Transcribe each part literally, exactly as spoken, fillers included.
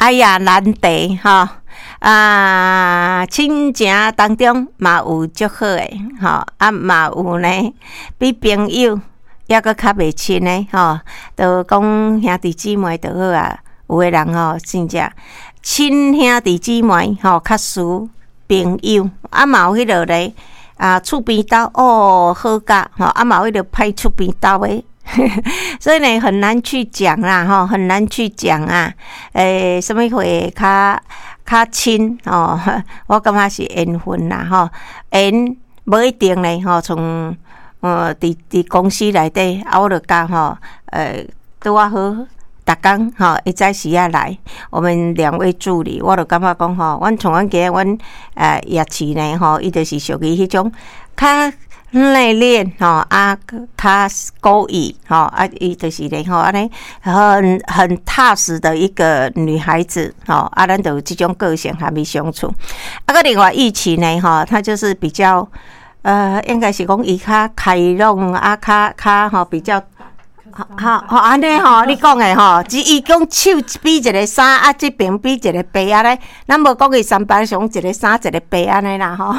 哎呀，難題吼啊，親情當中嘛有足好的吼，啊嘛有呢，比朋友猶閣較袂親的吼，就講兄弟姊妹就好啊。有的人吼，真正親兄弟姊妹吼，較輸朋友，啊嘛有彼落咧啊，厝邊兜哦好甲吼，啊嘛有彼落歹厝邊兜的。所以呢，很難去講啦，吼，很難去講啊。欸，啥物會較較親吼？我感覺是緣分啦，吼，緣無一定咧，吼，從呃，佇佇公司內底，啊，我就佮吼，呃，拄仔好，逐工吼，會早時仔來，我們兩位助理，我就感覺講吼，阮像阮今日阮呃葉慈呢，吼，伊就是屬於彼種較內斂吼，啊，較古意吼，啊，伊就是咧吼，按呢很很踏實的一個女孩子吼，啊，咱就有這種個性和伊相處。啊，閣另外玉琪呢，吼，她就是比較呃，應該是講伊較開朗啊，較較吼比較。好，好，按呢吼，你講的吼，只伊講手比一个三，啊，這邊比一个八按呢，咱無講伊三班上一個三一個八按呢啦吼。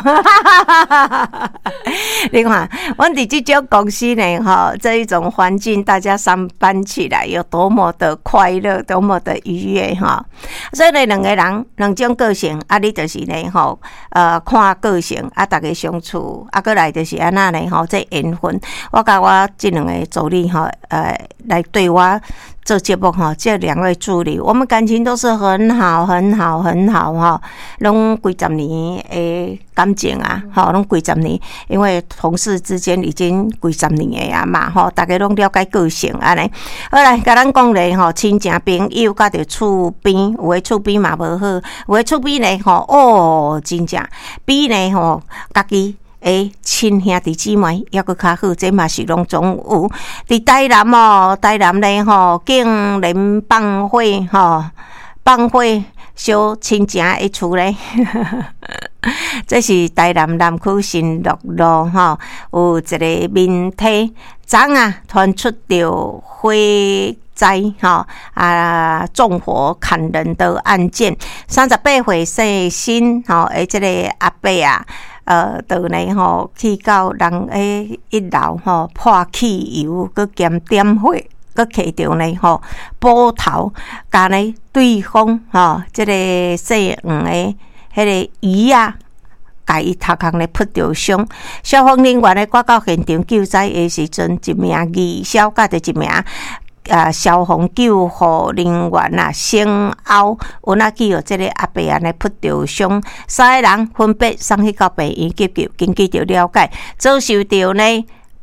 你看，阮佇這種公司呢，吼，這一種環境，大家上班起來有多麼的快樂，多麼的愉悅哈。所以呢，兩個人兩種個性，啊，你就是呢，吼，呃，看個性，啊，逐家相處，啊，閣來就是按怎呢，吼，這緣分。我佮我這兩个助理吼，呃。來對我做節目吼，這兩位助理，我們感情都是很好、很好、很好哈，攏幾十年的感情啊，吼，攏幾十年，因為同事之間已經幾十年的啊嘛，吼，逐家攏了解個性按呢。好來，共咱講咧吼，親情朋友佮著厝邊，有的厝邊嘛無好，有的厝邊咧吼，哦，真正比呢吼，家己的親兄弟姊妹猶閣較好，這嘛是攏總有。佇台南哦，台南咧吼，竟然放火吼，放火燒親情的厝咧。這是台南南區新樂路吼，有一个民宅，昨啊傳出著火災吼啊縱火砍人的案件，三十八歲姓辛吼的這个阿伯啊。呃，就呢吼去到人的一樓吼潑汽油，閣兼點火，閣提著呢吼斧頭，共呢對方吼這个姓黃的彼个姨仔，共伊頭殼呢撲著傷。消防人員呢趕到現場救災的時陣，一名義消佮著一名啊消防救護人員啊，先後有哪去予這个阿伯按呢撲著傷，三个人分別送去到病院急救。根據著了解，遭受著呢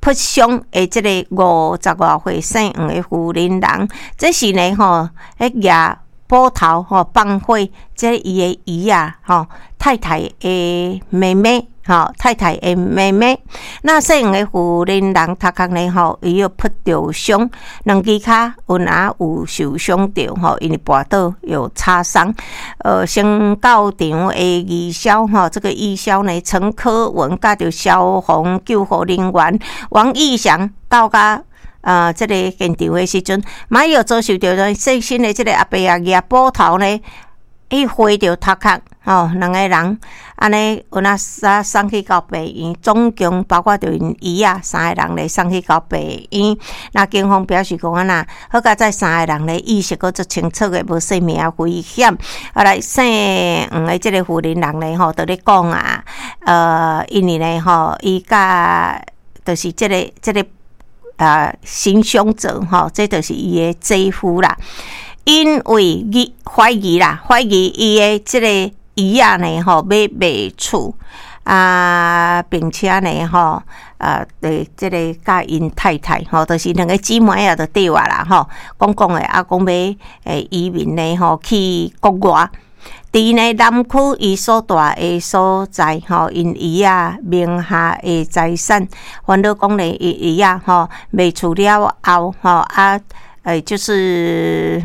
撲傷的這個五十外歲姓黃的婦人人，這是呢吼，彼舉斧頭吼放火，這伊的姨仔吼太太的妹妹。吼，太太的妹妹，那姓黃的婦人人頭殼呢吼，伊有撲著傷，兩支跤有哪有受傷著吼，因為跋倒有擦傷。呃，先到場的義消吼，這個義消呢，陳科文佮著消防救護人員王義祥到佮。呃，這個現場的時陣，嘛有遭受著姓辛的這個阿伯仔舉斧頭呢，去揮著頭殼，吼，兩個人按呢有哪送送去到病院，總共包括著𪜶姨仔三个人咧送去到病院。那警方表示講按怎，好佳哉三个人咧意識閣足清楚的，無性命危險。啊來姓黃的這個婦人人咧吼，佇咧講啊，呃，因為咧吼，伊佮就是這个這个啊行兇者吼，這就是伊的姐夫啦。因為伊懷疑啦，懷疑伊的這个姨仔呢吼，欲賣厝啊，並且呢吼，啊，對這个佮𪜶太太吼，就是兩个姊妹仔就對啊啦吼，講講的啊，講欲會移民呢吼去國外。佇呢南區伊所蹛的所在吼，𪜶姨仔名下的財產，煩惱講呢，伊姨仔吼賣厝了後吼啊，欸，就是。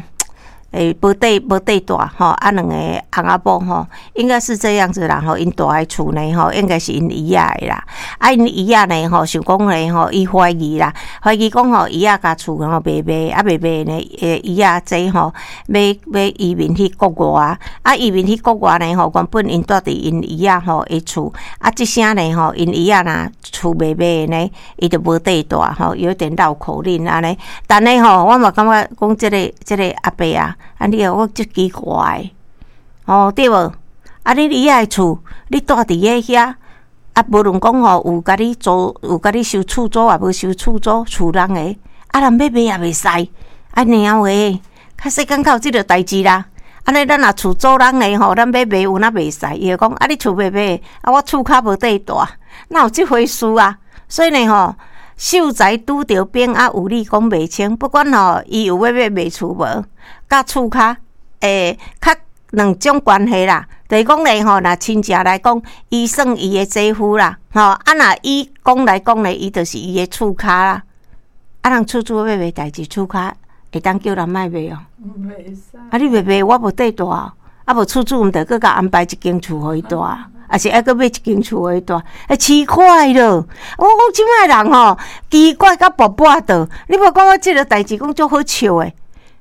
欸，無綴無綴蹛吼，啊，兩個翁仔某吼，應該是這樣子啦吼，𪜶蹛的厝呢吼，應該是𪜶姨仔的啦。啊，𪜶姨仔呢吼，想講呢吼，伊懷疑啦，懷疑講吼，姨仔共厝吼賣賣，啊賣賣呢，欸，姨仔這吼，欲欲移民去國外，啊，移民去國外呢吼，原本𪜶蹛佇𪜶姨仔吼的厝，啊，這聲呢吼，𪜶姨仔若厝賣賣呢，伊就無綴蹛吼，有點繞口令按呢。但呢吼，我嘛感覺講這个這個阿伯啊。啊！你我足奇怪，吼對無？啊，你姨仔的厝，你蹛佇咧遐，啊，無論講吼有共你租，有共你收厝租，也無收厝租，厝人的，啊，人欲賣也袂使，啊，娘喂，較世間較有這個代誌啦。按呢，咱若厝租人的吼，咱欲賣有哪袂使？伊會講啊，你厝賣賣，啊，我厝跤無綴蹛，哪有這回事啊？所以呢吼，秀才拄著兵啊，有理講袂清。不管吼，伊有欲欲賣厝無，佮厝跤，欸，較兩種關係啦。就是講咧吼，若親情來講，伊算伊的姐夫啦，吼啊，若以講來講咧，伊就是伊的厝跤啦。啊，人厝主欲賣代誌，厝跤會當叫人莫賣哦。袂使。啊，你袂賣，我無綴蹛，啊無厝主毋著閣共安排一間厝予伊蹛，抑是愛閣買一間厝予伊蹛？欸，奇怪了，我講這擺人吼，奇怪甲跋跋倒。你無感覺這个代誌講足好笑的，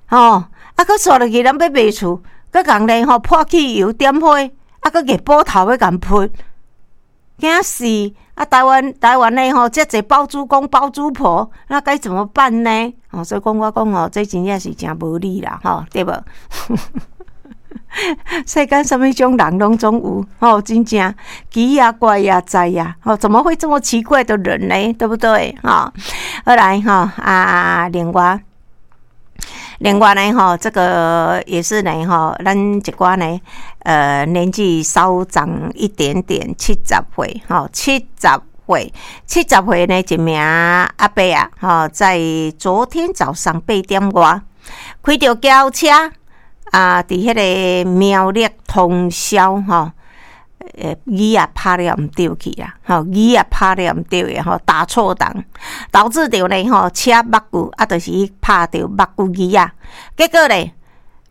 吼？啊，閣煞落去，人欲賣厝，閣共咧吼潑汽油點火，啊，閣夾斧頭欲共潑，驚死！啊，台灣台灣的吼，遮濟包租公包租婆，那該怎麼辦呢？哦，所以講我講吼，這真正是誠無理啦，吼，對無？世間啥物種人攏總有，吼，真正奇啊怪啊哉啊，吼，怎麼會這麼奇怪的人呢？對不對？吼，好來吼啊，另外。另外呢，吼，這個也是呢，吼，咱一寡呢，呃，年紀稍長一點點，七十歲，吼，七十歲，七十歲呢，一名阿伯啊，吼，在昨天早上八點外，開著轎車啊，佇彼个苗栗通霄，吼，呃，椅仔拍了毋對去啦，吼，椅仔拍了毋對的吼，打錯檔，導致著呢，吼，車目久啊，就是去拍著目久椅仔，結果咧，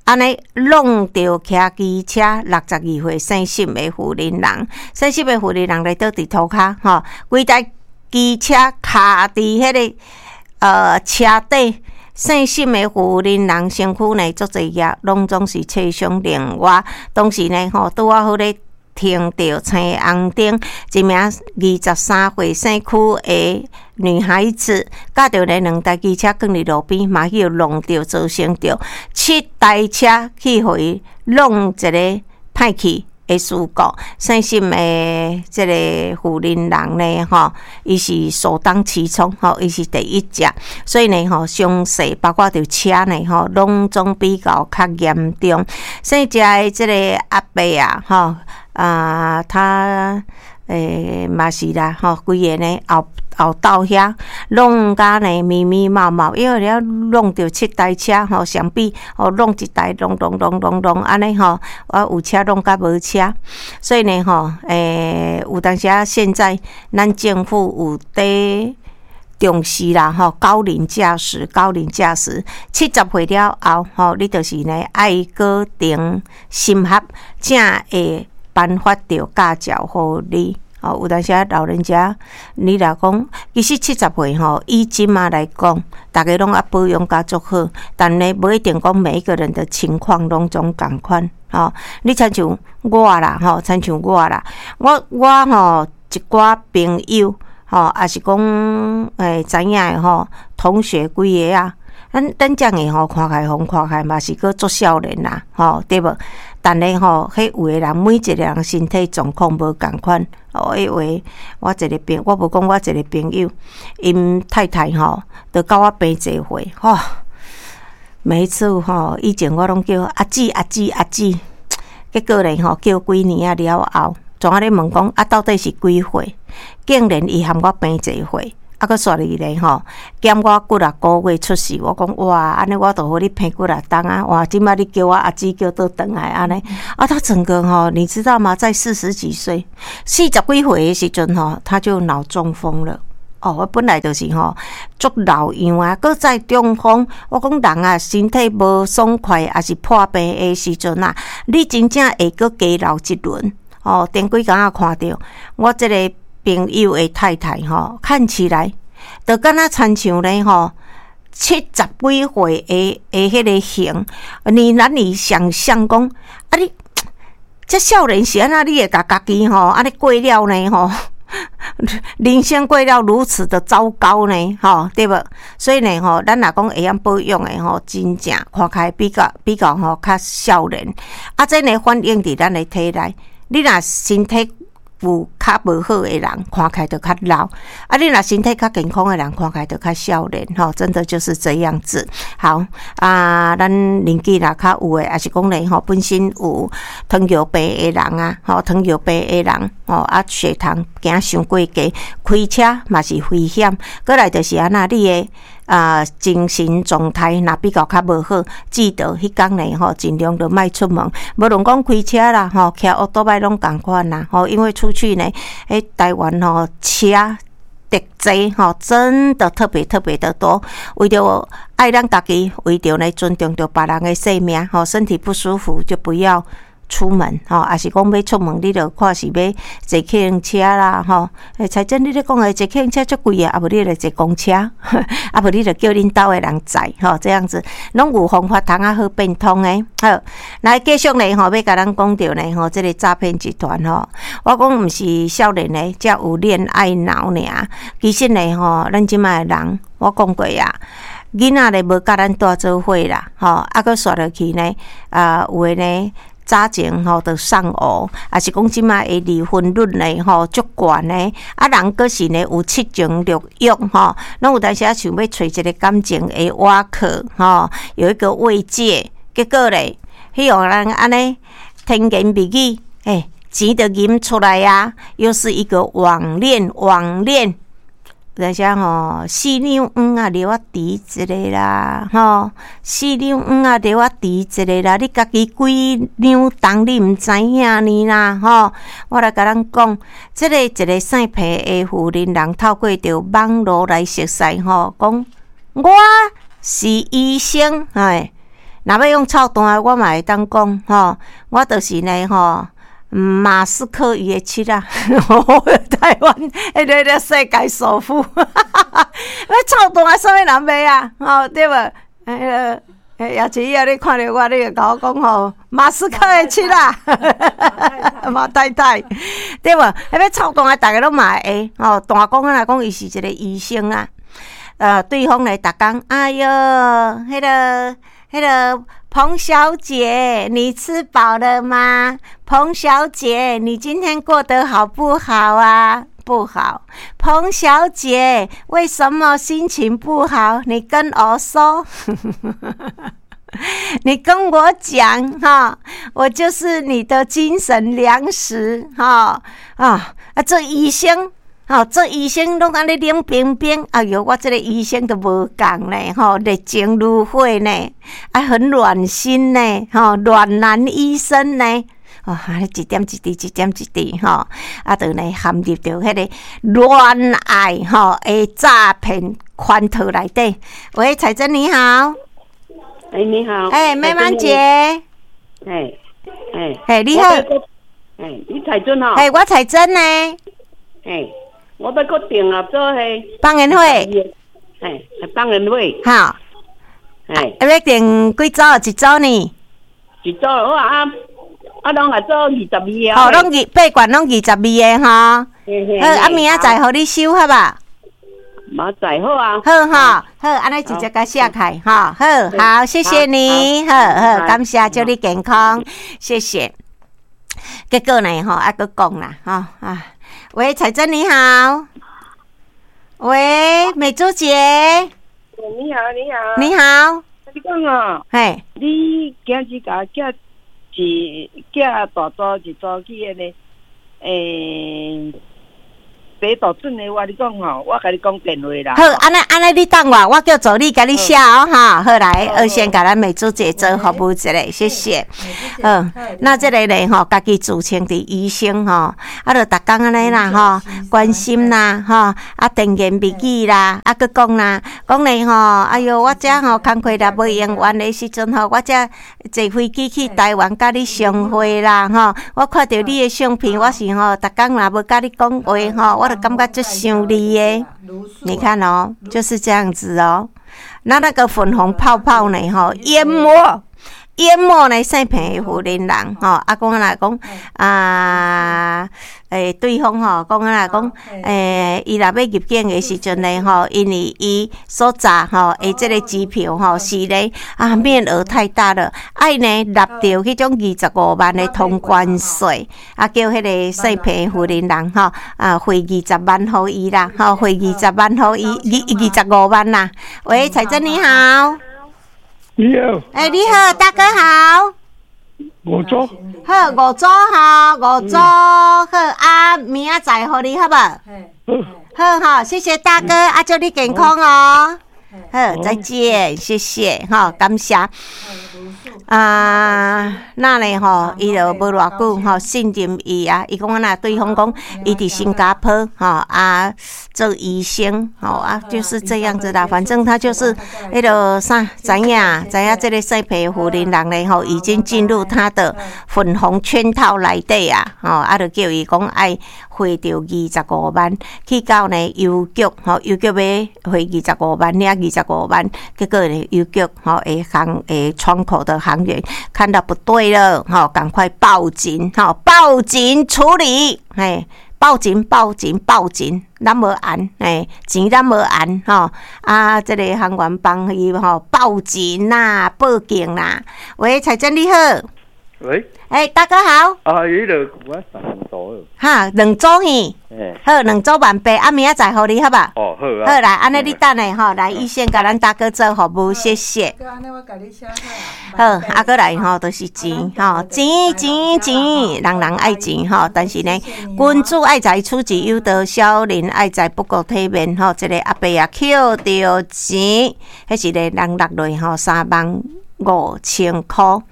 按呢挵著騎機車六十二歲姓沈的婦人人，姓沈的婦人人咧倒佇塗跤，吼，規台機車卡佇彼个呃車底。姓沈的婦人人身軀呢足濟額，攏總是切傷。另外，當時呢，吼，拄仔好咧停著青紅燈，一名二十三歲姓許的女孩子，駕著呢兩台機車囥佇路邊，嘛去予挵著，造成著七台車去予伊挵一个歹去的事故。姓沈的這个婦人人呢，吼，伊是首當其衝，吼，伊是第一隻，所以呢，吼，傷勢包括著車呢，吼，攏總比較較嚴重。姓謝的這个阿伯啊，吼，啊，他欸嘛是啦，吼，規个呢後後斗遐弄甲呢密密麻麻，因為了弄著七台車吼，相比吼弄一台弄弄弄弄弄按呢吼，我有車弄甲無車，所以呢吼，欸有當時啊，現在咱政府有佇重視啦吼，高齡駕駛，高齡駕駛七十歲了後吼，你就是呢愛閣重審核，才會頒發著駕照予你。哦，有當時啊，老人家，你若講，其實七十歲吼，以這馬來講，逐家攏啊保養甲足好，但呢，無一定講每一個人的情況攏總仝款。吼，你親像我啦，吼，親像我啦，我我吼一寡朋友，吼，抑是講欸知影的吼，同學幾个啊，咱咱遮爾吼看起來風看起來嘛是閣足少年啦，吼，對無？但呢吼，彼有的人每一個人身體狀況無仝款。哦，彼話我一个朋，我無講我一个朋友，𪜶太太吼，都佮我平濟歲，吼，每一次吼，以前我攏叫阿姊阿姊阿姊，結果咧吼，叫幾年仔了後，總仔咧問講啊，到底是幾歲？竟然伊含我平濟歲。啊，閣煞來咧吼，減我幾若個月出世，我講哇，按呢我就予你平幾若冬啊！哇，這擺你叫我阿姊叫倒轉來按呢，啊，他整個吼，你知道嗎？在四十幾歲，四十幾歲的時陣吼，他就腦中風了。哦，我本來就是吼足老樣啊，閣再中風。我講人啊，身體無爽快，抑是破病的時陣啊，你真正會閣加老一輪。哦，頂幾工仔看著我這个朋友的太太吼，看起來就敢若親像咧吼七十幾歲的的彼个形，你難以想象講啊你這少年時按怎你會共家己吼按呢過了呢吼？人生過了如此的糟糕呢，吼，對無？所以呢，吼，咱若講會曉保養的吼，真正看起來比較比較吼較少年。啊，這呢反映佇咱的體內，你若身體有較無好的人，看起來就較老；啊，你若身體較健康的人，看起來就較少年，吼，真的就是這樣子。好啊，咱年紀若較有的，抑是講咧吼，本身有糖尿病的人啊，吼，糖尿病的人，吼啊，血糖驚傷過低，開車嘛是危險。閣來就是按怎，你的啊精神狀態若比較較無好，記得彼工呢吼，盡量就莫出門。無論講開車啦，吼，騎烏多擺攏仝款啦，吼，因為出去呢，欸，台灣吼車特濟吼，真的特別特別的多。為著愛咱家己，為著呢尊重著別人的生命，吼，身體不舒服就不要出門，吼，抑是講欲出門，你著看是欲坐客運車啦，吼。欸，彩珍，你咧講的坐客運車足貴啊，啊無你就坐公車，啊無你就叫恁兜的人載，吼，這樣子攏有方法通啊好變通的。好，來繼續呢，吼，欲共咱講著呢，吼，這个詐騙集團吼，我講毋是少年的才有戀愛腦爾，其實呢，吼，咱這擺的人，我講過啊。囡仔咧無佮咱蹛做伙啦，吼，啊，閣煞落去呢，啊，有的呢。早前吼就喪偶，抑是講這擺的離婚率呢吼足懸的，啊人閣是呢有七情六欲吼，攏有當時仔想欲揣一个感情的倚靠吼，有一個慰藉，結果咧，彼予人按呢甜言蜜語，欸，錢就吟出來啊，又是一個網戀網戀。有當時吼，四兩黃仔留我挃一个啦，吼，四兩黃仔留我挃一个啦，你家己幾兩重你毋知影呢啦，吼！我來共咱講，這个一个姓彭的婦人，人透過著網路來熟似吼，講我是醫生，哎，若欲用臭彈的，我嘛會當講吼，我就是呢吼。馬斯克伊的妻仔，台灣彼个个世界首富，欲臭彈啥物人買啊？吼，對無？彼个也是以後你看著我，你會共我講吼，馬斯克的妻仔，馬太太，對無？彼欲臭彈，逐个攏嘛會吼，大講來講，伊是一个醫生啊。呃，對方來逐工，哎喲，彼个彼个彭小姐，你吃飽了嗎？彭小姐，你今天過得好不好啊？不好。彭小姐，為什麼心情不好？你跟我說。你跟我講哈，我就是你的精神糧食哈啊啊！做醫生，吼，做醫生攏按呢冷冰冰，哎喲，我這个醫生都無仝呢，吼，熱情如火呢，啊，很暖心呢，吼，暖男醫生呢，哦，按呢一點一滴，一點一滴，吼，啊，就呢陷入著彼个戀愛吼的詐騙圈套內底。喂，彩珍你好。哎，你好。哎，美滿姐。哎，哎，哎，你好。哎，你彩珍吼。哎，我彩珍呢。哎，我欲閣訂啊，做彼放煙火。哎，放煙火。好。哎，欲訂幾組？一組呢？一組好啊，啊，攏來做二十二个。好，攏二八罐攏二十二个吼。好，啊，明仔載予你收好無？嘛載好啊。好哈，好，按呢直接共寫開哈，好好，謝謝你，好好，感謝，祝你健康，謝謝。結果呢，吼，還閣講啦，吼啊，喂，彩珍你好，喂，美珠姐，你好，你好，你好，你講哦，嘿，你今日共寄一寄大組一組去彼个，欸，白度準的，我你講吼，我共你講電話啦。好，按呢按呢，你等我，我叫助理共你寫哦，哈。好來，我先共咱美珠姐做服務一下，謝謝。嗯，那這个咧吼，家己自稱佇醫生吼，啊，就逐工按呢啦吼，關心啦吼，啊，甜言蜜語啦，啊，閣講啦，講咧吼，哎喲，我遮吼工課若無用完的時陣吼，我才坐飛機去台灣佮你相會啦吼。我看著你的相片，我是吼，逐工若無佮你講話吼，我就感覺足想你的。你看哦，就是這樣子哦。那那個粉紅泡泡呢？吼，淹沒淹沒呢，姓彭的婦人人吼，啊，講來講啊，欸，對方吼，講來講，欸，伊若欲入境的時陣呢，吼，因為伊所詐吼的這个機票吼是咧啊，面額太大了，愛呢納著彼種二十五萬的通關稅，啊，叫彼个姓彭的婦人人吼啊匯二十萬予伊啦，吼匯二十萬予伊，二二十五萬啦。喂，彩珍你好。你好。欸，你好，大哥好。五組。好，五組吼，五組好啊，明仔載予你好無？好好，謝謝大哥，啊，祝你健康哦。好，再見，謝謝，吼，感謝。啊，那呢吼，伊就無偌久吼，信任伊啊，伊講按怎對方講，伊佇新加坡吼啊做醫生吼啊，就是這樣子啦。反正他就是彼个啥，知影知影這个姓彭婦人人咧吼，已經進入他的粉紅圈套內底啊，吼啊，就叫伊講愛匯著二十五萬去到呢郵局吼，郵局欲匯二十五萬，領二十五萬，結果呢郵局吼的行的窗口的行員看到不對了，吼，趕快報警，吼，報警處理，嘿，報警報警報警，咱無按，嘿，錢咱無按，吼，啊，這个行員幫伊吼報警啦，報警啦。喂，彩珍你好。喂。欸，大哥好。啊，彼个我三組。哈，兩組耳。好，兩組萬八，啊，明仔載予你好無？哦，好啊。好來，按呢你等下吼，來醫生共咱大哥做服務，謝謝。好，啊，閣來吼，就是錢吼，錢錢錢，人人愛錢吼，但是呢，君子愛財，取之有道，小人愛財不顧體面吼。這个阿伯啊，抾著錢，彼一個人落落吼三萬五千箍。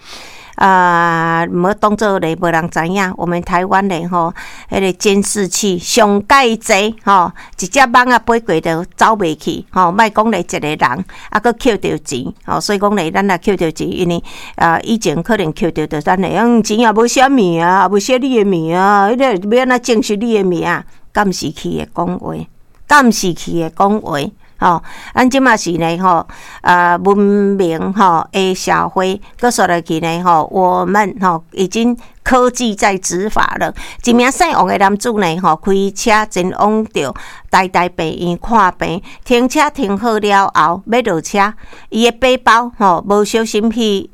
啊，毋當做咧無人知影。我們台灣咧吼，彼个監視器上蓋濟吼，一隻蠓仔飛過就走袂去吼。莫講咧一個人，啊，閣抾著錢吼，所以講咧，咱若抾著錢，因為啊，以前可能抾著就咱會用錢也無寫名啊，也無寫你的名啊，彼个欲按怎證實你的名？監視器會講話，監視器會講話。吼，咱這馬是呢吼，啊，文明吼的社會，閣煞落去呢吼，我們吼已經科技在執法了。一名姓王的男子呢吼，開車前往著台大病院看病，停車停好了後，欲落車，伊的背包吼無小心去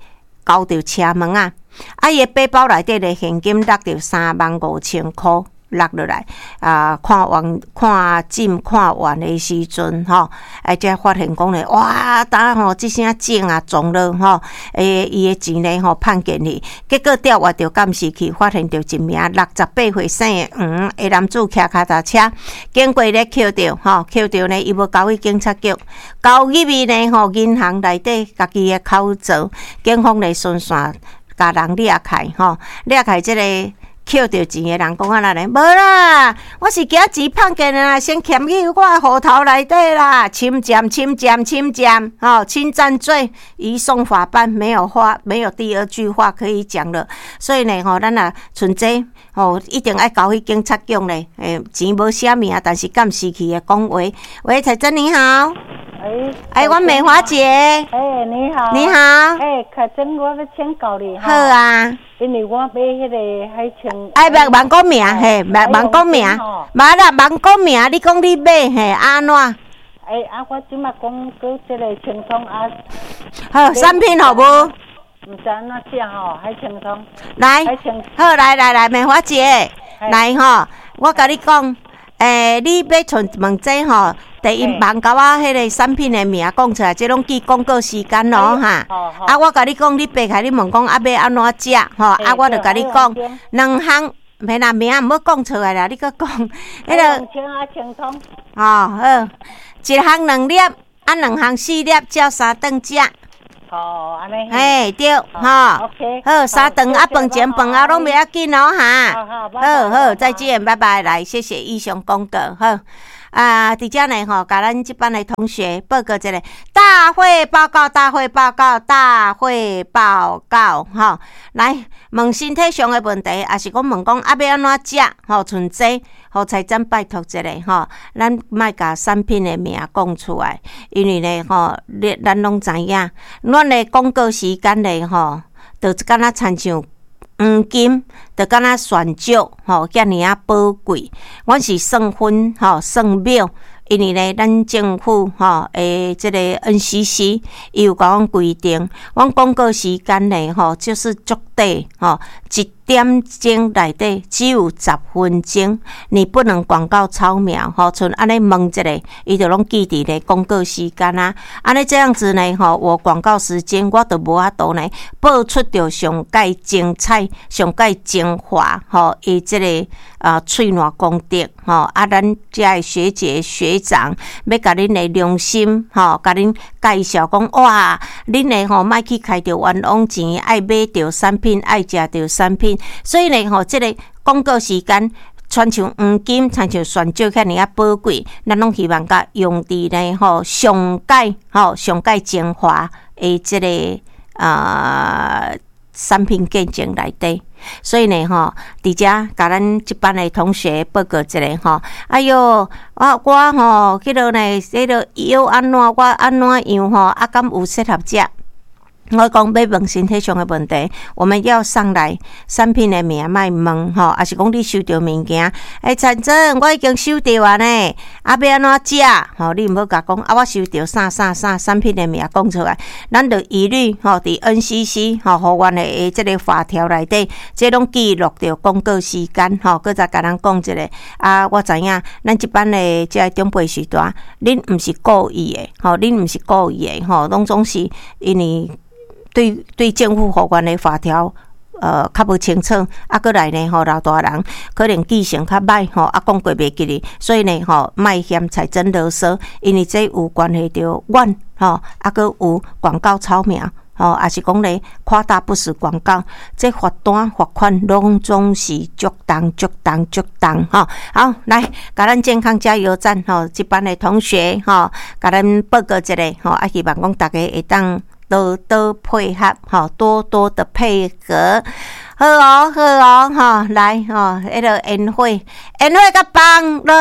勾著車門仔，啊，伊的背包內底的現金落著三萬五千箍。落落來啊！看完看診看完的時陣吼，啊，才發現講咧，哇！當吼這聲井啊撞了吼，欸，伊的錢咧吼判見去，結果調閱著監視器，發現著一名六十八歲姓黃的男子騎腳踏車經過咧抾著吼，抾著呢，伊無交去警察局，交入去呢吼銀行內底家己的口座，警方咧循線共人掠開吼，掠開這个抾著錢的人講按怎咧？無啦，我是驚錢碰見啦，先儉去我的戶頭內底啦，侵佔、侵佔、侵佔，吼，侵佔罪移送法辦，沒有話，沒有第二句話可以講了。所以呢，吼，咱若像這吼，一定愛交去警察局咧。欸，錢無寫名，但是監視器會講話。喂，彩珍你好。哎，哎，我美華姐。哎，你好。你好。哎，凱珍，我欲請教你。好啊。因為我買彼个海清。哎，欲茫講名嘿，欲茫講名，無啦，茫講名，你講你買嘿，按怎？哎，啊，我這馬講閣這个清湯啊。好，產品好無？毋知按怎食吼，海清湯。來，好，來來來，美華姐，來吼，我共你講，欸，你欲問問這吼。第一，茫共我彼个產品的名講出來，這攏記廣告時間咯哈。啊，我共你講，你爬起來你問講啊，欲按怎食吼？啊，我就共你講兩項。免啦，名毋好講出來啦，你閣講，彼个清啊清湯。哦，好，一項兩粒，啊兩項四粒，照三頓食。哦，按呢。嘿，對，吼。 OK。好，三頓啊，飯前飯後攏袂要緊哦，哈。好好好，再見，拜拜，來，謝謝以上廣告，好。啊，佇遮呢吼，共咱這班的同學報告一下，大會報告，大會報告，大會報告，吼，來問身體上的問題，抑是講問講啊欲按怎食，吼，像這，予財長拜託一下，吼，咱莫共產品的名講出來，因為呢，吼，你咱攏知影，咱的廣告時間呢，吼，就敢若親像黃金，就敢若鑽石，吼，遮爾仔寶貴。阮是算分，吼，算秒，因為呢，咱政府吼的這个 N C C 伊有共阮規定，阮廣告時間呢，吼，就是足短，吼，一點鐘內底只有十分鐘，你不能廣告超秒，吼，像按呢問一下，伊就攏記佇咧廣告時間啊。按呢這樣子呢，吼，我廣告時間我就無法度呢，播出著上蓋精彩、上蓋精華，吼，伊這个啊喙瀾功德，吼，啊，咱遮的學姐學長欲共恁的良心，吼，共恁介紹講，哇，恁的吼莫去開著冤枉錢，愛買著產品，愛食著產品，所以呢，吼，這個廣告時間，親像黃金，親像鑽石遐爾仔寶貴，咱攏希望共用佇呢，吼，上蓋吼上蓋精華的這個啊產品見證內底。所以呢，吼，佇遮共咱這班的同學報告一下吼。哎喲，我我吼，彼个呢，彼个藥按怎，我按怎樣吼，啊，敢有適合食？我講欲問身體上的問題，我們要上來產品的名莫問吼，抑是講你收著物件，欸，陳總，我已經收著啊呢，啊，欲按怎食？吼，你毋好共講啊，我收著啥啥啥產品的名講出來，咱就一律吼佇 N C C 吼，予阮的這个法條內底，這攏記錄著廣告時間吼，閣再共咱講一下。啊，我知影咱這班的這个長輩序大，恁毋是故意的，吼，恁毋是故意的，吼，攏總是因為對對政府予阮的法條，呃，較無清楚，啊，閣來呢，吼，老大人可能記性較䆀，吼，啊，講過袂記得，所以呢，吼，莫嫌財政囉嗦，因為這有關係著阮，吼，啊，閣有廣告抄名，吼，抑是講咧誇大不實廣告，這罰單罰款攏總是足重足重足重，吼。好，來，共咱健康加油站，吼，這班的同學，吼，共咱報告一下，吼，啊，希望講大家會當多多配合，吼，多多的配合，好哦，好哦，吼，來，吼，彼个煙火，煙火共放落，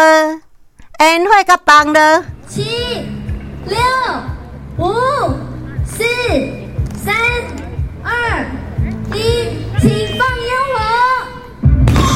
煙火共放落，七、六、五、四。